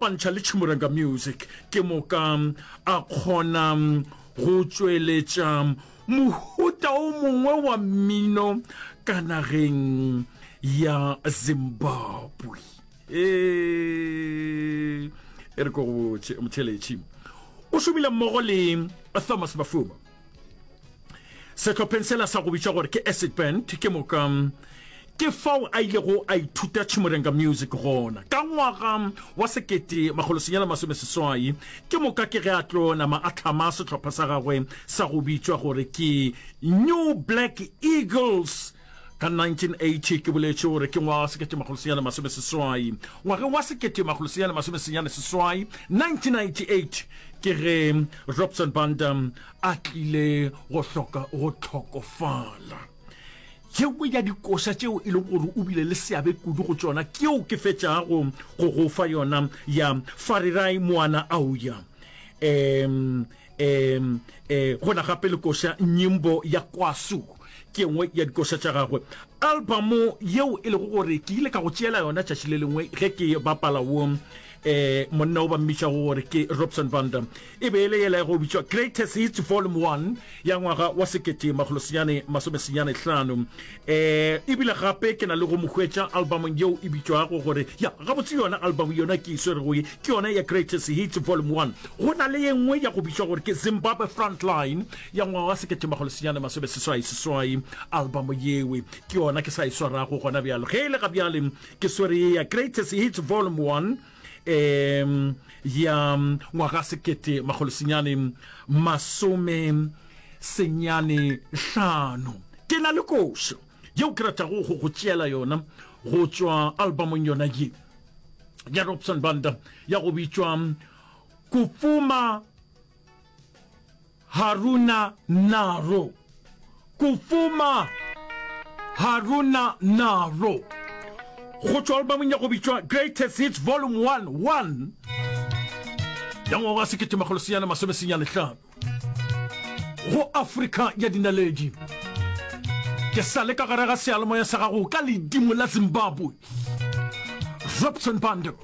ikopantšha le Chimurenga Music ke moka a kgona go tšweletša mohuta o mongwe wa mmino ka nageng ya Zimbabwe. Ee, e re ko go botše motheletši. O šomile mmogo le Thomas Mafuma sehlopheng sela sa go bitšwa gore ke Acid Band, ke moka ke fao a ilego a ithuta Chimurenga Music gona ka ngwaga wa 1980. Ke moka ke ge a tlo nama a hlama sehlopha sa gagwe sa go bitšwa gore ke New Black Eagles ka 1980. Ke boletše gore ke ngwaga wa 1980. Ngwageng wa 1988, 1998, ke ge Robson Banda a tlile go hloka go hlokofala. Ye nngwe ya dikoša tšeo e lego gore o bile le seabe kudu go tšona ke yeo ke fetšago go go fa yona ya Farirai Moana Auya. Um, um, um, go na gape le koša Nyimbo ya Kwasu, ke ye nngwe ya dikoša tša gagwe. Albamo yeo e lego gore ke ile ka go tšeela yona tšatši le lengwe ge ke bapala wo um monna o ba mmitšago gore ke Robson Banda, E be e le yela ya go bitšwa Greatest Hits Volume 1 ya ngwaga wa 1995. E bile gape ke na le go mo hwetša albumong yeo e bitšwago gore, ya, gabotse yona album yona ke e swerego ye, ke yona ya Greatest Hits Volume 1. Go na le ye nngwe ya go bitšwa gore ke Zimbabwe Frontline ya ngwaga wa 1988. Album yewe ke yona ke sa e swarago gona bjalo. Ge e le ga bjale ke swere ye ya Greatest Hits Volume 1. um ya ngwaga 1995. Ke na le košo yeo ke ratago go go tšeela yona go tšwa albumong yona ye ya Robson Banda ya go bitšwa Kufuma Haruna Naro. Kufuma Haruna Naro. Go tšwa albamong ya go bitšwa Greatest Hits Volume 1 1 ya ngwaga wa 1995 go Afrika ya dinaledi. Ke sa le ka gare ga seyalemoya sa gago ka ledimo la Zimbabwe. Robson Bando.